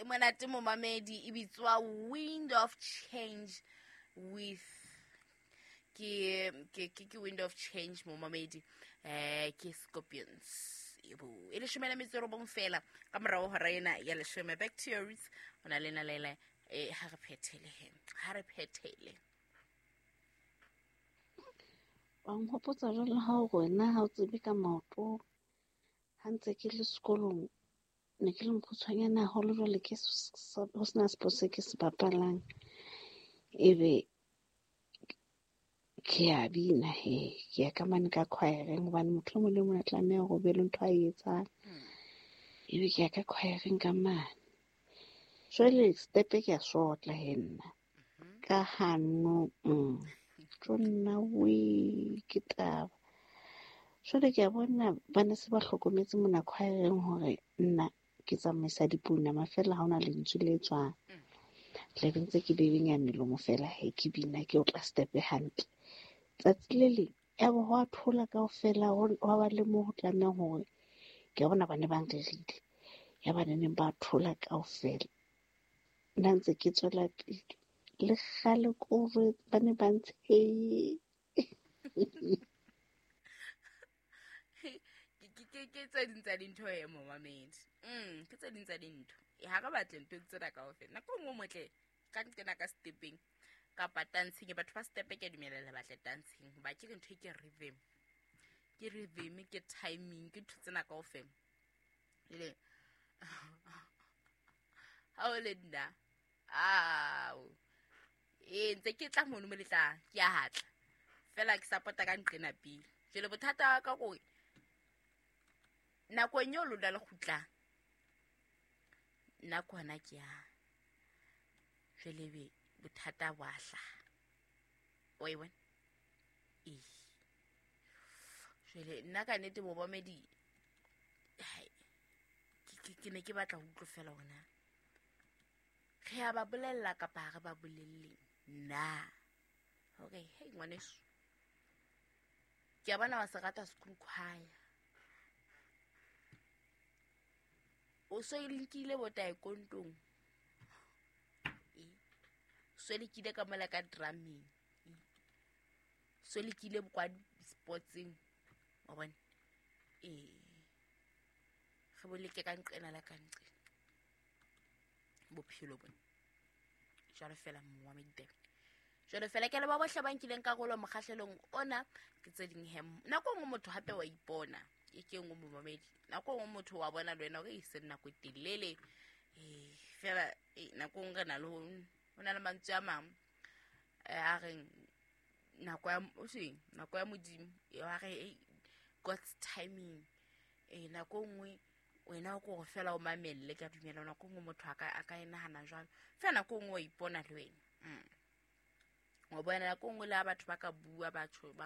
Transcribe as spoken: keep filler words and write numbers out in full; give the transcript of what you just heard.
E monate momamedi, e bitswa Wind of Change with ke ke ke ke Wind of Change momamedi, eh ke Scorpions. Ebo e leshome le metso e robong fela ka morao hora ena ya leshome. Back to your roots o na le na lele eh ha re phethele he ha re phethele. Wa nghopotsa jwale ha o wena ha o tsebe ka maoto. Ha ntse ke le sekolong ne ke le mokgutshwanyane haholo, jwale ke ho sena sport se ke se bapalang. Ebe ke a bina he, ke ya ka mane ka choireng hobane motho e mong le mong a tlameha hore o be le ntho a e etsang. Ebe ke ya ka choireng ka mane. Jwale stepe ke a sotla he nna. Ka hanong, tjo nna wee ke taba. Jwale ke a bona ba ne se ba hlokometse mona choireng hore nna ke tsamaisa dipounama feela ha hona lentswe le tswang. Tla be ntse ke bebenya melomo feela he ke bina ke otla stepe hantle. Tsatsi le leng ya bo hwa thola kaofela, hwa ba le moo ho tlamehang hore ke a bona ba ne ba nrerile. Ya ba neneng ba thola kaofela. Nna ntse ke tswela pele. Le kgale ke o jwetse ba ne ba ntshehile. Ke ke tse ding tsa dintho e momamedi. Mm, ke tse ding tsa dintho. E ha re batle ntho tsena kaofela. Nako e nngwe motle ka nqena ka stepeng kapa dancing, batho ba stepe ke a dumela le batle dancing hoba ke re ntho e ke rhythm. Ke rhythm, ke timing, ke ntho tsena kaofela. Jwale ha o le nna, ao. E ntse ke tla mono mo le tla, ke a hatla. Fela ke support-a ka nqena pele. Jwale bothata ba ka ke hore nakong eo lona le kgutlang, nna ke hona ke yang. Jwale ebe bothata bo a hlaha. Wa e bona? Ee. Jwale nna ka nnete momamedi, hai, ke, ke ne ke batla ho utlwa feela hore na re a ba bolella kapa ha re ba bolelle na. Hore hey ngwaneso, ke a bona wa se rata school choir. O so e lekile bo taekwondong. E. So lekile ka mola ka drumming. E. So lekile kwa sportsing. Wa bona? E. Re bo leke ka nqena la ka nqena. Bophelo bona. Jwalo fela mongwa meditaba. Jwalo fela ke le ba bohle ba nkileng karolo mokgahlelong ona, ke tse ding he. Nako e nngwe motho hape wa ipona. E ke nngwe momamedi. Nako e nngwe motho wa bona le wena hore e se nako e telele. Eh, fela, eh, nako e nngwe re na le ho, ho na le mantswe a mang, eh, a reng nako ya, o seng, nako ya Modimo, e wa re, eh, God's timing. Eh, nako e nngwe wena o ko re fela o mamelle, ke a dumela nako e nngwe motho a ka, a ka e nahana jwalo. Fela nako e nngwe wa ipona le wena. Mm. Wa bona nako e nngwe le ha batho ba ka bua, batho ba